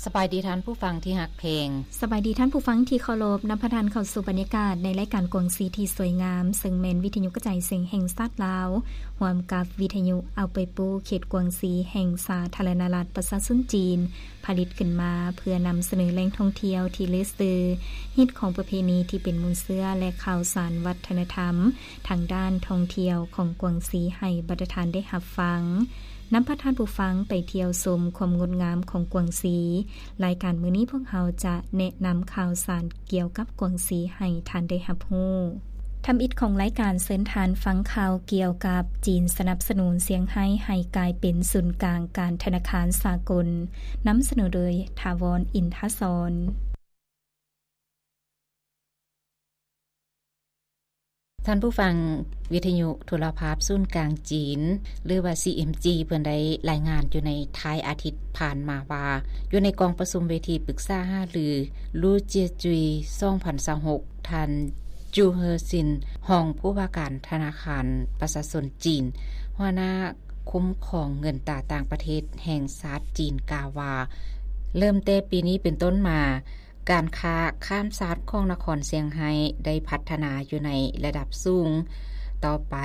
ສະບາຍດີທ່ານຜູ້ຟັງທີ່ຮັກແພງ. ສະບາຍດີທ່ານຜູ້ຟັງທີ່ເຄົາລົບ. ນຳພາທ່ານເຂົ້າສູ່ບັນຍາກາດໃນລາຍການກວາງຊີທີ່ສວຍງາມ, ເຊິ່ງແມ່ນວິທະຍຸກະຈາຍສຽງແຫ່ງຊາດລາວ, ຮ່ວມກັບວິທະຍຸເອົາໄປປູເຂດກວາງຊີແຫ່ງສາທາລະນະລັດປະຊາຊົນຈີນ, ຜະລິດຂຶ້ນມາເພື່ອນຳສະເໜີແຫຼ່ງທ່ອງທ່ຽວທີ່ເລີດຊື່, ຮີດຄອງປະເພນີທີ່ເປັນມູນເຊື້ອ ແລະ ຂ່າວສານວັດທະນະທຳທາງດ້ານທ່ອງທ່ຽວຂອງກວາງຊີໃຫ້ບັນດາທ່ານໄດ້ຮັບຟັງ. ນຳພາທ່ານຜູ້ຟັງໄປທ່ຽວຊົມຄວາມງົດງາມຂອງກວາງຊີ. ລາຍການມື້ນີ້ພວກເຮົາຈະແນະນຳຂ່າວສານກ່ຽວກັບກວາງຊີໃຫ້ທ່ານໄດ້ຮັບຮູ້. ທຳອິດຂອງລາຍການ ເຊີນທ່ານຟັງຂ່າວກ່ຽວກັບຈີນສະໜັບສະໜູນຊຽງໄຮ້ໃຫ້ກາຍເປັນສູນກາງການທະນາຄານສາກົນ. ນຳສະເໜີໂດຍ ຖາວອນ ອິນທະສອນ. ທ່ານຜູ້ຟັງ, ວິທະຍຸໂທລະພາບສູນກາງຈີນ ຫຼືວ່າ ຊີເອັມຈີ ເພິ່ນໄດ້ລາຍງານຢູ່ໃນທ້າຍອາທິດຜ່ານມາວ່າ, ຢູ່ໃນກອງປະຊຸມເວທີປຶກສາຫາລື ລູເຈຍຈຸຍ ສອງພັນຊາວຫົກ ທ່ານ ຈູເຮີຊິນ ຮອງຜູ້ວ່າການທະນາຄານປະຊາຊົນຈີນ, ຫົວໜ້າຄຸ້ມຄອງເງິນຕາຕ່າງປະເທດແຫ່ງຊາດຈີນ ກ່າວວ່າ ເລີ່ມແຕ່ປີນີ້ເປັນຕົ້ນມາ, ການຄ້າຂ້າມຊາດຂອງນະຄອນຊຽງໄຮ້ໄດ້ພັດທະນາຢູ່ໃນລະດັບສູງ. ຕໍ່ໄປ,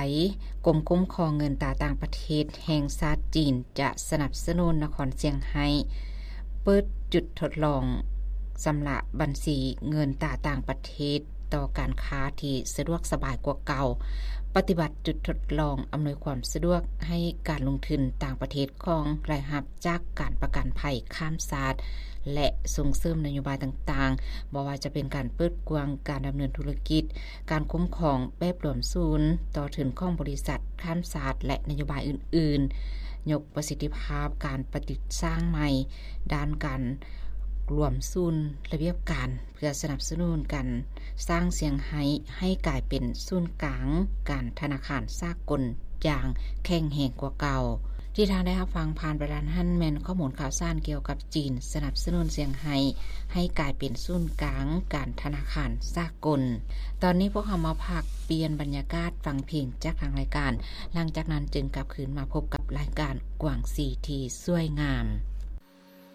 ກົມຄຸ້ມຄອງເງິນຕາຕ່າງປະເທດແຫ່ງຊາດຈີນຈະສະໜັບສະໜູນນະຄອນຊຽງໄຮ້ເປີດຈຸດທົດລອງຊຳລະບັນຊີເງິນຕາຕ່າງປະເທດຕໍ່ການຄ້າທີ່ສະດວກສະບາຍກວ່າເກົ່າ, ປະຕິບັດຈຸດທົດລອງອຳນວຍຄວາມສະດວກໃຫ້ການລົງທຶນຕ່າງປະເທດຂອງລາຍຮັບ ຈາກການປະກັນໄພຂ້າມຊາດ ແລະ ສົ່ງເສີມນະໂຍບາຍຕ່າງໆ, ບໍ່ວ່າຈະເປັນການເປີດກວ້າງການດຳເນີນທຸລະກິດ, ການຄຸ້ມຄອງແບບລວມສູນຕໍ່ທຶນຂອງບໍລິສັດຂ້າມຊາດ ແລະ ນະໂຍບາຍອື່ນໆ, ຍົກປະສິດທິພາບການປະຕິດສ້າງໃໝ່ດ້ານການລວມສູນລະບຽບການ ເພື່ອສະໜັບສະໜູນການສ້າງຊຽງໄຮ້ໃຫ້ກາຍເປັນສູນກາງການທະນາຄານສາກົນຢ່າງແຂງແຮງກວ່າເກົ່າ. ທີ່ທ່ານໄດ້ຮັບຟັງຜ່ານໄປນັ້ນຫັ້ນ ແມ່ນຂໍ້ມູນຂ່າວສານກ່ຽວກັບຈີນສະໜັບສະໜູນຊຽງໄຮ້ໃຫ້ກາຍເປັນສູນກາງການທະນາຄານສາກົນ. ຕອນນີ້ພວກເຮົາມາພັກປ່ຽນບັນຍາກາດຟັງເພງຈາກທາງລາຍການ, ຫຼັງຈາກນັ້ນຈຶ່ງກັບຄືນມາພົບກັບລາຍການກວາງຊີທີ່ສວຍງາມ.